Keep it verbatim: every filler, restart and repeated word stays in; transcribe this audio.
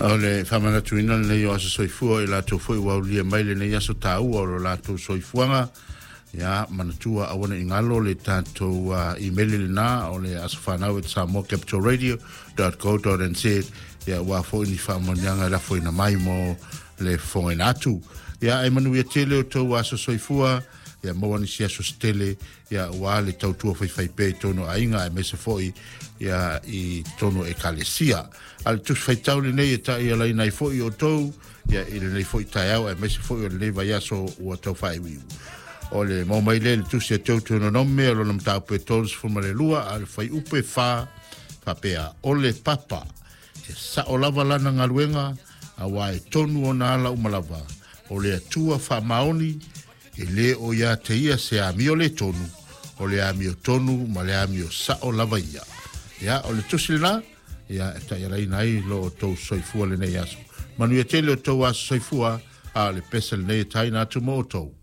O le faamanatuina lenei o aso soifua i latou foi ua aulia mai lenei aso taua o lo latou soifuaga. Ia manatua aua ne i galo le tatou uh, email lena o le asofanau at samoa capital radio dot co dot n z. Ia ua foi ni faamanuiaga e lafoina mai mo le fofogaina atu. Ia e manuia tele o tou aso soifua, ia maua nisi aso se tele, ia ua le tautua faifaipea i tonu aiga aemaise foi ia i tonu ekalesia. A le tusi faitau lenei e ta'ialaina ai foi outou ia i lenei foi taeao aemaise foi o lenei vaiaso ua tau faaiuiu. O le mau mai lea i le tusi a Teutononome o lona mataupu e tolusefulu ma le lua a le fuaiupu e fa faapea, o le papa e sa'o lava lana galuega auā e tonu ona ala uma lava o le Atua faamaoni e lē o iā te ia se amio le tonu o le amio tonu ma le amio sa'o lava ia. Ia o le tusi lenā ia e ta'ialaina ai lo outou soifua lenei aso. Manuia tele o tou aso soifua a o le pese lenei e taina atu mo outou.